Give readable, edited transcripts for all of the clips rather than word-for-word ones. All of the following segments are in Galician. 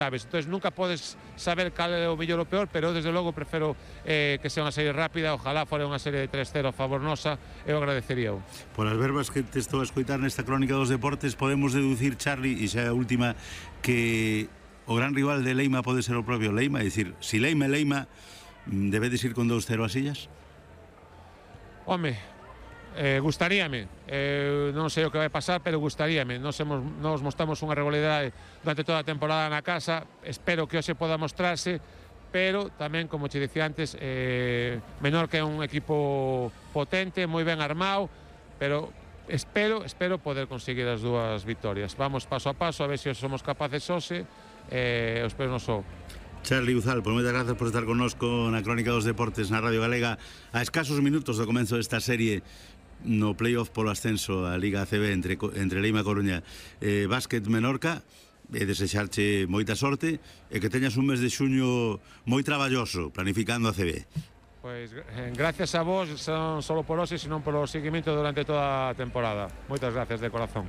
sabes, entonces nunca podes saber cal é o mellor ou peor, pero desde logo prefiro que sea unha serie rápida. Ojalá fora unha serie de 3-0 a favor nosa, eu agradecería. Por as verbas que te estou a escoitar nesta crónica dos deportes, podemos deducir, Charlie, e xa é a última, que o gran rival de Leima pode ser o propio Leima, é dicir, si Leima é Leima, debedes ir con 2-0 as illas? Home, gustaríame, non sei o que vai pasar, pero gustaríame. Nos mostramos unha regularidade durante toda a temporada na casa, espero que hoxe poda mostrarse, pero tamén, como che dicía antes, Menorca é un equipo potente, moi ben armado, pero espero poder conseguir as dúas vitorias. Vamos paso a paso, a ver se somos capaces hoxe, espero non só. Charlie Uzal, por moitas grazas por estar connosco na Crónica dos Deportes na Radio Galega a escasos minutos do comenzo desta serie no playoff polo ascenso a Liga ACB entre Leima e Coruña Básquet Menorca, e desexarche moita sorte e que teñas un mes de xuño moi traballoso planificando a ACB. Pois gracias a vos, non só por hoxe, sino polo seguimento durante toda a temporada. Moitas gracias de corazón.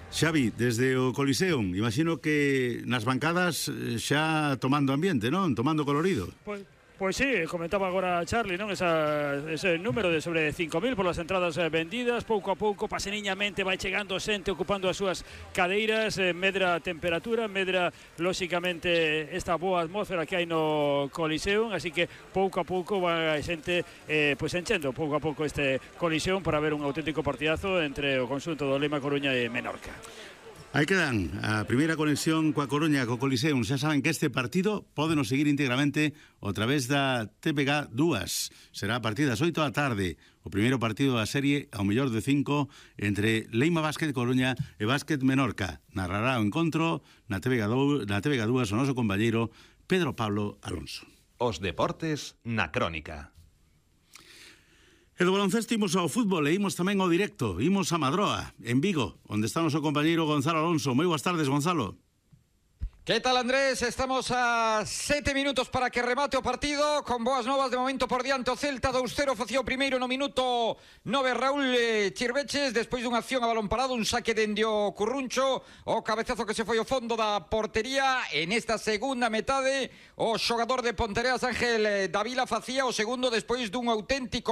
Xavi, desde o Coliseum, imagino que nas bancadas xa tomando ambiente, non? Tomando colorido. Pois sí, comentaba agora Charlie, non? Ese número de sobre 5.000 por las entradas vendidas, pouco a pouco, paseniñamente vai chegando xente ocupando as súas cadeiras, medra a temperatura, medra lóxicamente esta boa atmósfera que hai no Coliseum, así que pouco a pouco vai xente pois enchendo pouco a pouco este Coliseum para ver un auténtico partidazo entre o conxunto do Leima, Coruña e Menorca. Aí quedan a primeira conexión coa Coruña, co Coliseum. Xa saben que este partido pódenos seguir íntegramente a través da TPG 2. Será a partir das 8 da tarde. O primeiro partido da serie ao mellor de 5 entre Leima Básquet Coruña e Básquet Menorca. Narrará o encontro na TPG 2 o noso compañeiro Pedro Pablo Alonso. Os deportes na Crónica. E do baloncesto imos ao fútbol e imos tamén ao directo. Imos a Madroa, en Vigo, onde está o noso compañeiro Gonzalo Alonso. Moi boas tardes, Gonzalo. ¿Qué tal, Andrés? Estamos a 7 minutos para que remate o partido, con boas novas de momento por diante o Celta. 2-0 facía o primeiro no minuto 9 Raúl Chirveches, despois dunha acción a balón parado, un saque dende o Curruncho, o cabezazo que se foi ao fondo da portería. En esta segunda metade o xogador de Pontereas, Ángel Davila, facía o segundo despois dun auténtico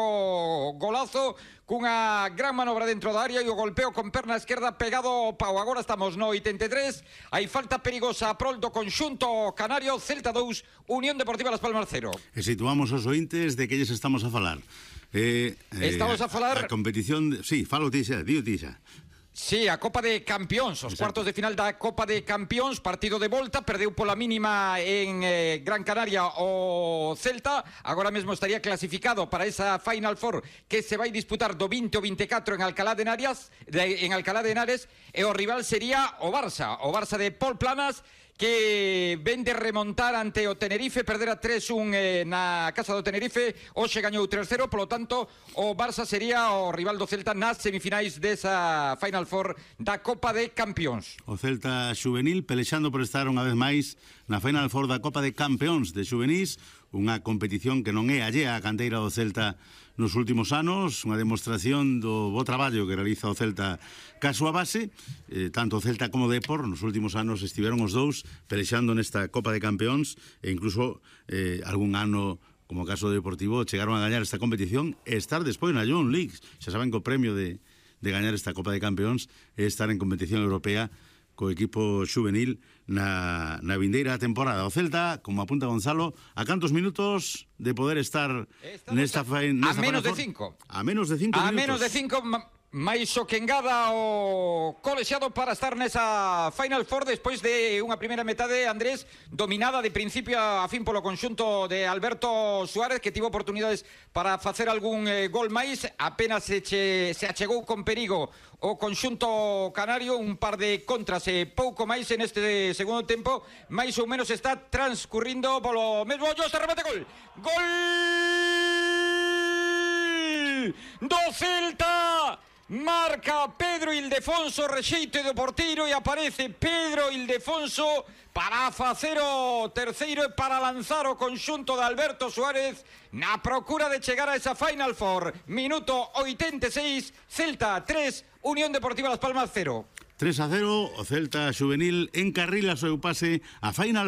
golazo cunha gran manobra dentro da área e o golpeo con perna esquerda pegado ao pau. Agora estamos no 83, hai falta perigosa a prol do conxunto canario. Celta 2, Unión Deportiva Las Palmas 0. E situamos os ointes de que lles estamos a falar. Estamos a falar... A competición... Sí, falo ti xa, digo ti xa. Sí, a Copa de Campións, os cuartos de final da Copa de Campións, partido de volta, perdeu pola mínima en Gran Canaria o Celta, agora mesmo estaría clasificado para esa Final Four que se vai disputar do 20 ao 24 en Alcalá de Henares, e o rival sería o Barça de Pol Planas, que ven de remontar ante o Tenerife, perder a 3-1 na casa do Tenerife, hoxe gañou 3-0, polo tanto o Barça sería o rival do Celta nas semifinais desa Final Four da Copa de Campións. O Celta xuvenil pelexando por estar unha vez máis na Final Four da Copa de Campións de xuvenís, unha competición que non é allea á canteira do Celta nos últimos anos, unha demostración do bo traballo que realiza o Celta ca súa base. Tanto o Celta como o Depor nos últimos anos estiveron os dous pelexando nesta Copa de Campeóns, e incluso algún ano, como o caso do Deportivo, chegaron a gañar esta competición e estar despois na Young League. Xa saben que o premio de gañar esta Copa de Campeóns é estar en competición europea co equipo xuvenil na vindeira temporada. O Celta, como apunta Gonzalo, a cantos minutos de poder estar nesta a menos de 5. A menos de 5 minutos. A menos de 5, máis o que engada o colexiado para estar nesa Final Four despois de unha primeira metade, Andrés, dominada de principio a fin polo conxunto de Alberto Suárez, que tivo oportunidades para facer algún gol máis. Apenas se achegou con perigo o conxunto canario, un par de contras e pouco máis en este segundo tempo. Mais ou menos está transcurrindo polo mesmo ollo, este remate, gol do Celta. Marca Pedro Ildefonso, rexeito do porteiro, e aparece Pedro Ildefonso para facer o terceiro e para lanzar o conxunto de Alberto Suárez na procura de chegar a esa Final Four. Minuto 86, Celta 3, Unión Deportiva Las Palmas 0. 3-0, o Celta xuvenil encarrila o seu pase a Final